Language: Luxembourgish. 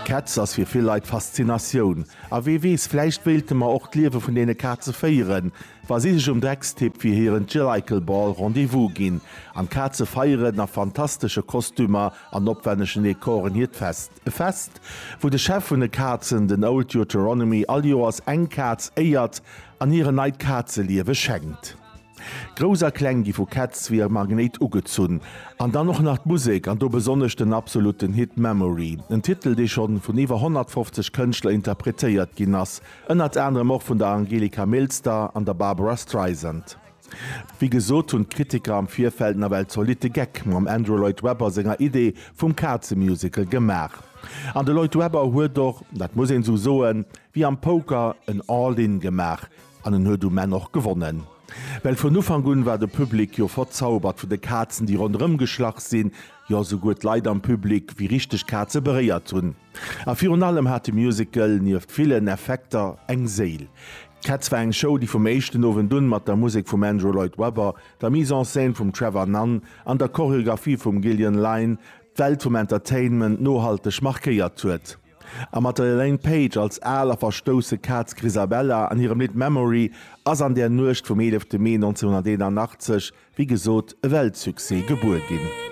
Cats ass fir vill Leit Faszinatioun. A wee weess, vläicht wéilte mer och d'Liewe vun deene Kaze féieren, wa si sech um Dreckstipp fir hiren Jellicle Ball Rendez-vous ginn. An d'Kaze feieren a fantastesche Kostümer an opwännegen Dekoren hiert Fest. E Fest, wou de Chef vun de Kazen, den Old Deuteronomy, all Joers eng Kaz éiert an hir en neit Kazeliewe schenkt. Grouss a Kleng gi vu Cats wéi e Magnéit ugezunn. An dann och nach d'Musek, an do besonnesch den absolutten Hit Memory. En Titel, dee schonn vun iwwer 150 Kënschtler interpretéiert ginn ass, ënnert anerem och vun der Angelika Milster an der Barbara Streisand. Wéi gesot hunn d'Kritiker am Virfeld nawell zolitte Geck mam Andrew Lloyd Webber senger Idee vum Kazemusical gemaach. An de Lloyd Webber huet och, dat muss een esou soen, wéi am Poker en All-In gemaach. An en huet um Enn och gewonnen. Well vun Ufank un war de Public jo verzaubert vun de Kazen déi ronderëm geschlach sinn, jo esouguer d'Leit am Public wéi richteg Kaze beréiert hunn. A virun allem hat de Musical nieft villen Effekter eng Séil. Cats war eng Show déi vum éischten Owend un mat der Musek vum Andrew Lloyd Webber, der Mise en scène vum Trevor Nunn an der Choreographie vum Gillian Lynne d'Welt vum Entertainment nohalteg markéiert huet. A mat der Elaine Paige als al a verstousse Kaz Grisabella an hirem Lidd Memory ass an där Nuecht vum 11 Mee 1981, wéi gesot, e Weltsuccès gebuer ginn.